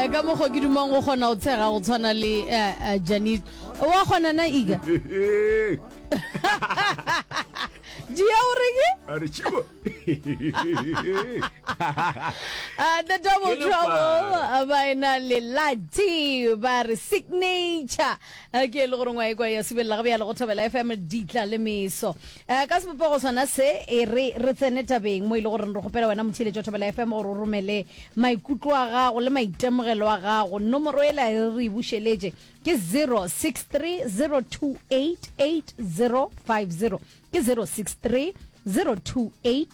Eh, ka mokgwa ke dumang go kgona go tshega go tshwana le eh, eh, Janit. Wa kgona na Iga? Dia o reng? A re tšibo. Uh, the double Ke trouble lepara. uh, ba ena le Lati ba re signature Uh, ke e le gore ngwa ekwa ya subelela ga bjale go thobela FM ditla le meso uh, ka sebopego sona se e re re tsene tabeng mo e le gore re kgopela wena motheeletši wa thobela FM gore o romele maikutlo a gago le maitemogelo a gago nomoro ela e re e bušeletše ke 063 028 8050 Ke 063 028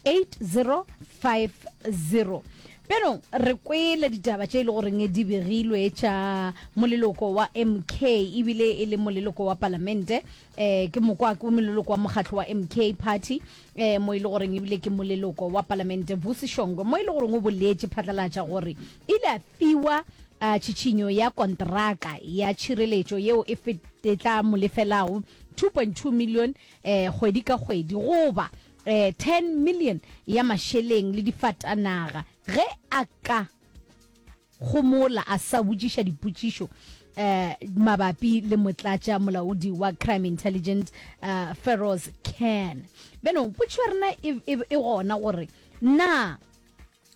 8050. Bjanong re kwele ditaba tše e le goreng di begilwe tša moleloko wa MK ebile e le moleloko wa palamente eh ke mokwa ke moleloko wa mokgatlo wa MK party eh mo e le goreng ebile ke moleloko wa palamente Vusi Shongwe mo e le goreng o boletše phatlalatša gore ile a fiwa uh, tšhitšhinyo ya kontraka ya tšhireletšo yeo e, e tla mo lefelago 2.2 million eh, kgwedi ka kgwedi goba eh, 10 million ya mašeleng le difatanaga ge a ka gomola a sa botšiša dipotšišo eh, mabapi le motlatša molaodi wa crime intelligence eh, Feroz Khan. Beno potšišo ya rena e, e, e gona gore na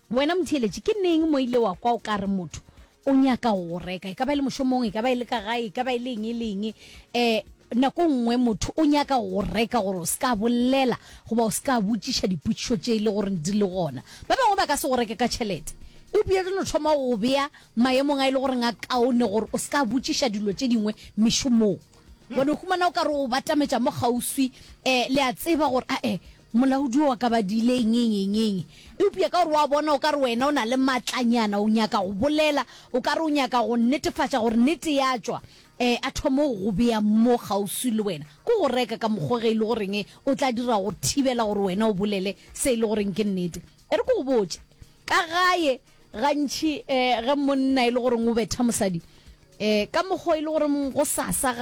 Wena motheeletši, ke neng mo ile wa kwa o ka re motho o nyaka go go reka? E ka ba e le mošomong, e ka ba e le ka gae, e ka ba e le eng e le eng. Um nako nngwe motho o nyaka go go reka gore o se ka bolela goba o se ka botšiša dipotšišo tše e le gore di le gona. Ba bangwe ba ka se go reke ka tšhelete, eupša di no thoma go go bea maemong a e le goreng a kaone gore o se ka botšiša dilo tše dingwe mešomong. Wa no humana o ka re o batametša mo kgauswi, um le a tseba gore ae Molaodi o ka ba diile eng, eng, eng, eng. Eupša ka gore o a bona o ka re wena o na le maatlanyana, o nyaka go bolela, o ka re o nyaka go netefatša gore nnete ya tšwa, eh, a thome go go bea mo kgauswi le wena. Ke go reka ka mokgwa ge e le goreng o tla dira go thibela gore wena o bolele se e le goreng ke nnete. E re ke go botše, ka gae gantši eh, ge monna e le goreng o betha mosadi, eh, ka mokgwa e le goreng gosasa ga.